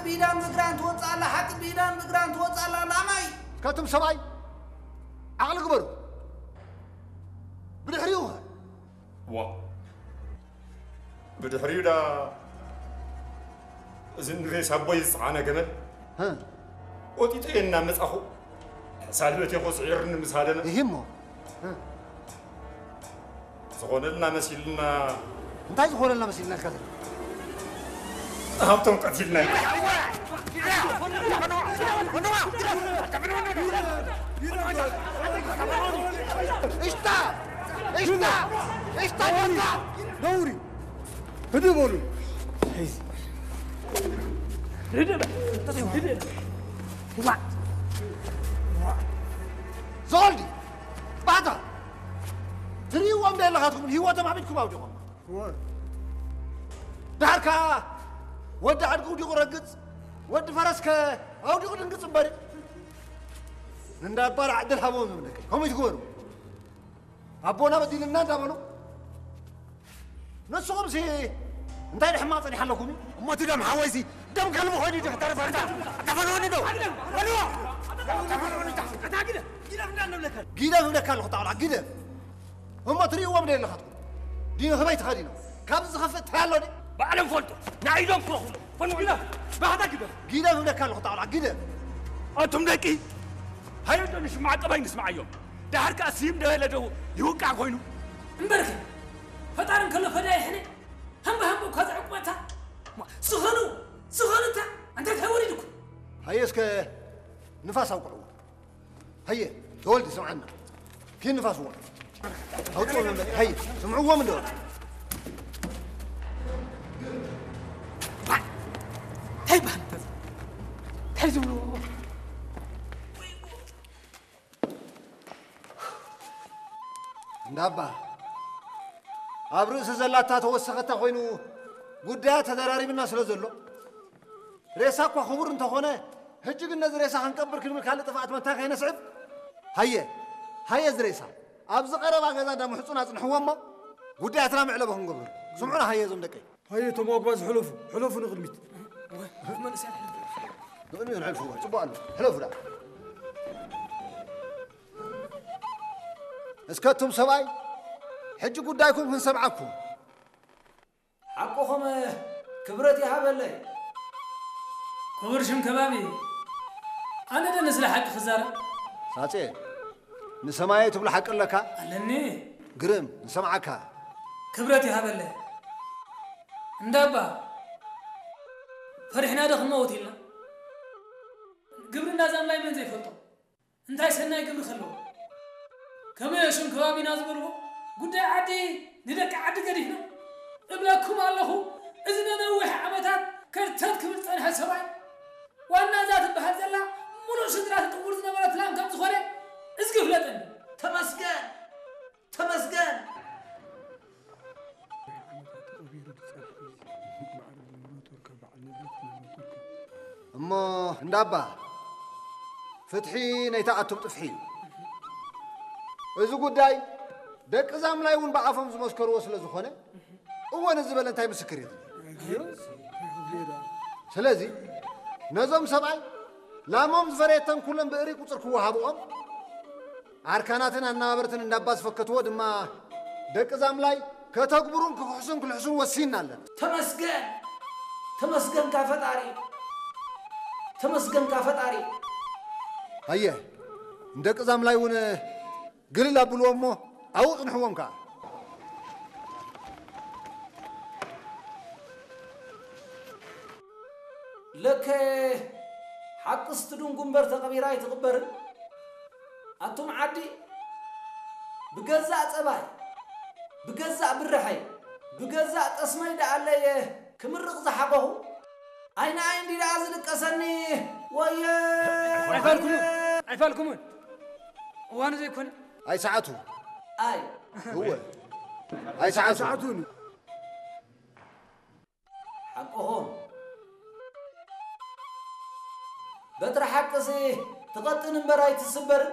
ብኢዳን ብእግራን ትወፅእ ኣላ፣ ሓቂ ብኢዳን ብእግራን ትወፅእ ኣላ፣ ላማይ። እስካትኩም ሰብኣይ ዓቕሊ ግበሩ። ብድሕሪኡ ኸ? ዋ፣ ብድሕሪኡ ዳ እዚ ንሬሳ ኣቦይ ዝፀዓነ ገመል ሀ? ወጢጠ እናመፃኹ ሳልበት የኾ ስዒርኒ ምስ ሃደመ ይሂ እሞ። እ። ዝኾነልና መሲልና። እንታይ ዝኾነልና መሲልና ኢልካ ዘለኻ? ሃብቶም ቀቲልና። እሽታ! እሽታ! እሽታ! ነውሪ! ህድእ በሉ። ዘወልዲ! ባህታ! ትርእይዎም ዶ ኣለኻትኩም? ህይወቶም ኣብ ኢድኩም ኣውዲቖም። እወ። ደሓር ከኣ ወዲ ኣድጊ ውዲቑ ረግጽ፣ ወዲ ፈረስከ ኣውዲቑ ድንግጽ እምበር። እንዳ ኣባል ዕድል ሃቦም ዝብለካ። ከምኡ ትግበሩ። ኣቦና በዲልና እንዳበሉ ንስኹምሲ እንታይ ድሕማቕ ጸኒሓ ኣለኩም? እሞ እቲ ደም ሓወይሲ ደም ከልቢ ኮይኑ ድሕተርፈ እንዳ ተፈንወኒ ዶ? በልዎ! ተፈንወኒ ዶ? ኣታ ግደ! ግደፍ እንዳንብለካ። ግደፍ እብለካ ኣለኹ ጣውላ፣ ግደፍ። እሞ ትርእይዎም ዶ የለኻትኩም? ዲኖ ህበይ ተኸዲኖም? ካብዚ ዝኸፍእ እንታይ ኣሎ ድዩ? ባዕሎም ፈልጡ። ንኣይዶም ክረኽቡ። ፈንዎ። ግደፍ! ባህታ ግደፍ! ግደፍ እብለካ ኣለኹ ጣውላ፣ ግደፍ። ኣቱም ደቂ! ሃየ ዶ ንሽማዕ ቀባይ ንስማዓዮም። ደሓር ከኣ ስይም ደበለ ዶ ይውቃዕ ኮይኑ? እምበርኸ ፈጣሪ እንከሎ ፈዳይ ሕነ ሃምባ ሃምባ እኳ ዘዕቁበታ። ዝኾኑ፣ ዝኾኑ እታ ኣንታ እንታይ ወሪድኩ? ሃየ እስከ ንፋስ ኣውቅዕዎ። ሃየ፣ ተወልዲ ስምዓና። ኪድ ንፋስ እዋ። ኣውጽዎ መመ-፣ ሃየ፣ ስምዕዎም እንዶ። እንታይ ይበሃል እንተ-፣ እንታይ ዝብልዎ? እንዳባ፣ ኣብ ርእሲ ዘላታ ተወሰኸታ ኮይኑ ጉዳያ ተደራሪብና ስለ ዘሎ፣ ሬሳ እኳ ክቡር እንተኾነ፣ ሕጂ ግን ነዚ ሬሳ ክንቀብር ክንብል ካልእ ጥፍኣት መታን ከይነስዕብ፣ ሃየ፣ ሃየ እዚ ሬሳ ኣብዚ ቀረባ ገዛ እንዳ ምሕጹን ኣጽንሕዎ እሞ፣ ጉዳያትና መዕለቢ ክንገብር። ስምዑና ሃየ እዞም ደቀይ። ሃየ እቶም ኣጉባዝ ሕለፉ፣ ሕለፉ ንቕድሚት። ወይ፣ መንእሰያት ሕለፉ። ንቕድሚት ሕልፉ፣ ጽቡቕ ኣሎ። ሕለፉ ደኣ። እስከ እቱም ሰብኣይ፣ ሕጂ ጉዳይኩም ክንሰምዓኩም። ሓቅኹም ክብረት ይሃበለይ። ክቡር ሽም ከባቢ፣ ኣነ ዶ ንስለ ሓቂ ክዛረብ? ሳጼ፣ ንሰማየ ትብሎ ሓቂ ኣለካ? ኣለኒ። ግርም፣ ንሰምዓካ። ክብረት ይሃበለይ። እንዳባ፣ ፈሪሕና ዶ ክንመውት ኢልና? ግብሪ እንዳዛምላይ መን ዘይፈልጦ? እንታይ ሰናይ ግብሪ ከለዎ? ከመይ ሽም ከባቢና ዝበልዎ ጉዳይ ዓዲ ንደቂ ዓዲ ገዲፍና እብለኩም ኣለኹ። እዚ ነነዊሕ ዓመታት ከርተት ክብል ዝጸንሐ ሰብኣይ ዋና እዛ ትበሃል ዘላ ምሉእ ስድራ ትጥውር ዝነበረት ላም ከም ዝኾነ እዝጊ ፍለጠኒ። ተመስገን! ተመስገን! እሞ እንዳባ፣ ፍትሒ ነይታ ኣቱም ጥፍሒ እዩ። እዚ ጉዳይ ደቂ ዛምላይ እውን ብኣፎም ዝመስከርዎ ስለ ዝኾነ፣ እወ፣ ነዚ ዝበለ እንታይ ምስክር የድሊ? ስለዚ ነዞም ሰብኣይ ላሞም ዝፈረየተን ኩለን ብእሪ ቁጽር ክወሃብኦም፣ ኣርካናትን ኣነባበርትን እንዳባ ዝፈከትዎ ድማ ደቂ ዛምላይ ከተግብሩን ክኽሕሱን ክልሕሱን ወሲንና ኣለና። ተመስገን! ተመስገንካ ፈጣሪ! ተመስገንካ ፈጣሪ! ሃየ፣ ንደቂ ዛምላይ እውን ግልል ኣብልዎ እሞ ኣብኡ ጽንሕዎም ከኣ። ለከ ሓቅስ ትድንጉ እምበር ተቐቢራ ኣይትቕበርን። ኣቱም ዓዲ ብገዛእ ጸባይ፣ ብገዛእ ብርሐይ፣ ብገዛእ ጠስመይ ደኣለየ ክምርቕ ዝሓቐኹ። ኣይንኣይ እንዲ ደኣ ዝድቀሰኒ፣ ወየ! ኣይፋልኩምን፣ ኣይፋልኩምን። እዋኑ ዘይኮነ። ኣይ ሰዓቱ። ኣይ። እወ። ኣይ ሰዓቱ። ሰዓቱ። ሓቅኹም። በትሪ ሓቅሲ ትቐጥን እምበር ኣይትስበርን።